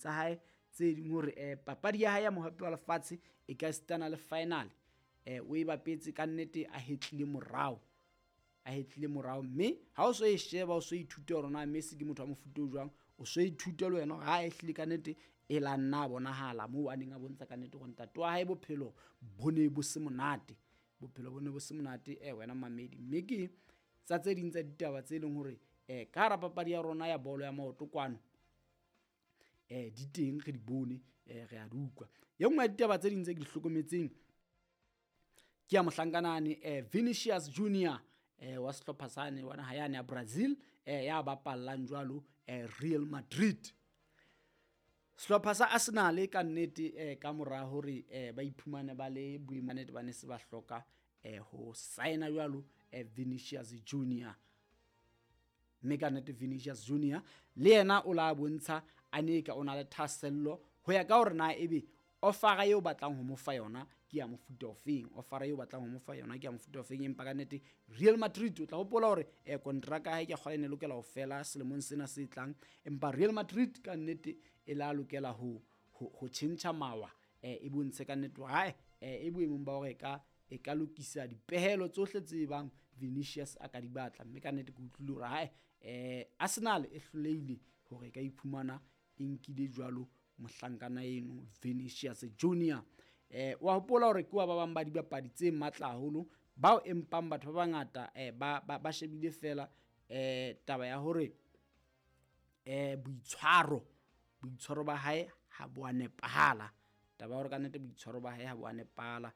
Dipapading tsa hae tse ding hore papadi ya hae ya mohapi wa lefatshe e ka sitana le final o e bapetse ka nnete a hetlile morao, a hetlile morao. Mme ha o so e sheba, o so ithute hore na Messi ke motho wa mofuta o jwang, o so ithute le wena hore ha e hlile ka nnete e la nna bonahala moo a neng a bontsha ka nnete hore ntate wa hae bophelo bo ne bo se monate, bophelo bo ne bo se monate wena mamedi. Mme ke tsa tse ding tsa ditaba tse leng hore ka hara papadi ya rona ya bolo ya maoto kwano di teng, re di bone, re a di utlwa. E nngwe ya ditaba tse ding tse ke di hlokometseng ke ya mohlankanane Vinicius Junior wa sehlopha sane wa naha yane ya Brazil ya bapallang jwalo Real Madrid. Sehlopha sa Arsenal ka nnete ka mora hore ba iphumane ba le boemong ba ne se ba hloka ho signa jwalo Vinicius Junior. Mme ka nnete Vinicius Junior le yena o la bontsha a ne ka o na le thahasello ho ya ka hore na ebe ofara eo batlang ho mo fa yona ke ya mofuta ofeng, ofara eo batlang ho mo fa yona ke ya mofuta ofeng. Empa ka nnete Real Madrid o tla hopola hore kontraka ya hae ke kgale ne lokela ho fela selemong sena se tlang, empa Real Madrid ka nnete e la lokela ho tjhentjha mawa e bontshe ka nnete hore hae e boemong ba hore e ka lokisa dipehelo tsohle tse bang Vinicius a ka di batla. Mme ka nnete ke utlwile hore hae Arsenal e hlolehile hore e ka iphumana e nkile jwalo mohlankana eno Vinicius Junior. Wa hopola hore ke wa ba bang ba dibapadi tse matla haholo bao empang batho ba bangata ba shebile fela taba ya hore boitshwaro ba hae ha bo a nepahala, taba ya hore ka nnete boitshwaro ba hae ha bo a nepahala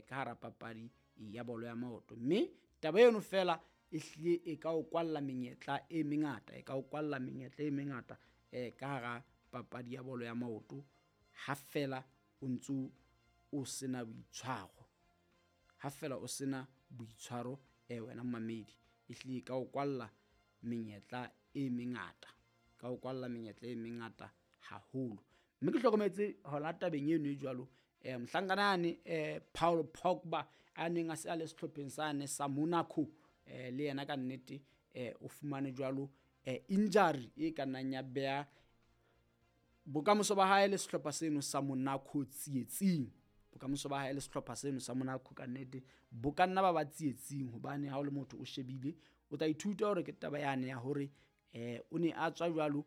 ka hara papadi ya bolo ya maoto. Mme taba eno fela e hlile e ka o kwalla menyetla e mengata, e ka o kwalla menyetla e mengata ka hara papadi ya bolo ya maoto ha fela o ntso o sena boitshwaro, ha fela o sena boitshwaro wena mamedi, e hlile ka o kwalla menyetla e mengata, ka o kwalla menyetla e mengata haholo. Mme ke hlokometse hona tabeng eno e jwalo mohlankana yane Paul Pogba a neng a se a le sehlopheng sane sa Monaco le yena ka nnete o fumane jwalo injury e ka nnang ya beha bokamoso ba hae le sehlopha seno sa Monaco tsietsing. Bokamoso ba hae le sehlopha seno sa Monaco ka nnete bo ka nna ba ba tsietsing, hobane ha o le motho o shebile o tla ithuta hore ke taba yane ya hore o ne a tswa jwalo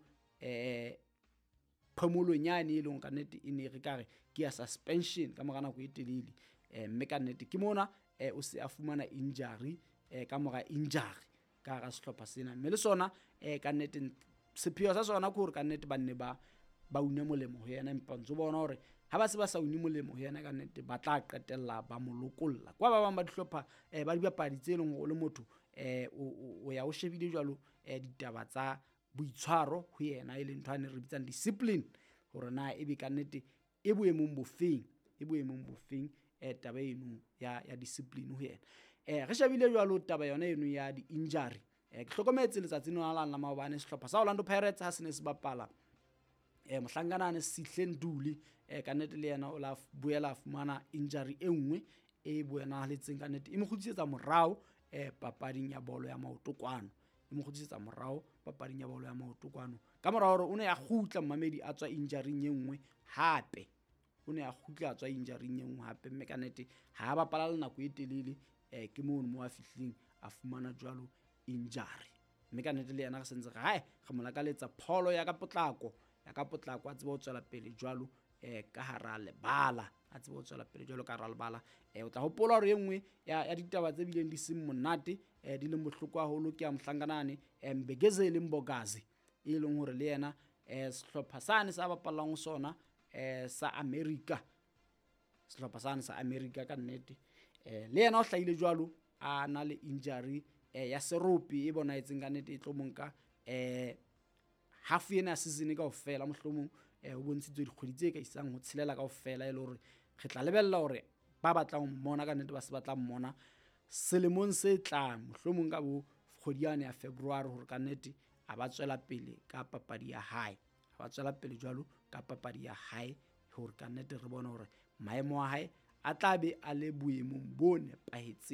phomolong yane e leng ka nnete e ne re ka re ke ya suspension ka mora nako e telele. Mme ka nnete ke mona o se a fumana injury ka mora injury ka hara sehlopha sena. Mme le sona ka nnete sepheo sa sona ke hore ka nnete ba nne ba une molemo ho yena, empa ntso bona hore ha ba se ba sa une molemo ho yena ka nnete ba tla qetella ba mo lokolla. Kwa ba bang ba dihlopha ba dibapadi tse leng hore o le motho o ya o shebile jwalo ditaba tsa boitshwaro ho yena, e leng ntho ane re bitsang discipline, hore na ebe ka nnete e boemong bofeng, e boemong bofeng taba eno ya discipline ho yena. Re shebile jwalo taba yona eno ya di-injury. Ke hlokometse letsatsing lona la maobane sehlopha sa Orlando Pirates ha se ne se bapala mohlankana ane Sihle Nduli ka nnete le yena o la boela a fumana injury e nngwe e bonahaletseng ka nnete e mo kgutlisetsa morao papading ya bolo ya maoto kwano, e mo kgutlisetsa morao papading ya bolo ya maoto kwano ka mora hore o ne a kgutla mmamedi a tswa injury-ing e nngwe hape, o ne a kgutla a tswa injury-ing e nngwe hape. Mme ka nnete ha bapala le nako e telele ke mono mo a fihlileng a fumana jwalo injury. Mme ka nnete le yena re sentse re hae re mo lakaletsa pholo ya ka potlako, ya ka potlako a tsebe ho tswela pele jwalo ka hara lebala, a tsebe ho tswela pele jwalo ka hara lebala. O tla hopola hore e nngwe ya ditaba tse bileng di seng monate di leng bohloko haholo ke ya mohlankanane Mbekezeli Mbokazi, e leng hore le yena sehlopha sane sa bapallang ho sona sa America, sehlopha sane sa America ka nnete le yena o hlahile jwalo a na le injury ya serope e bonahetseng ka nnete e tlo monka half ena ya season kaofela, mohlomong ho bontshitswe dikgwedi tse ka isang ho tshelela kaofela, e le hore re tla lebella hore ba batlang ho mmona ka nnete ba se batla mmona selemong se tlang, mohlomong ka bo kgwedi yane ya February, hore ka nnete a ba tswela pele ka papadi ya hae, a ba tswela pele jwalo ka papadi ya hae, hore ka nnete re bone hore maemo a hae a tla be a le boemong bo nepahetseng.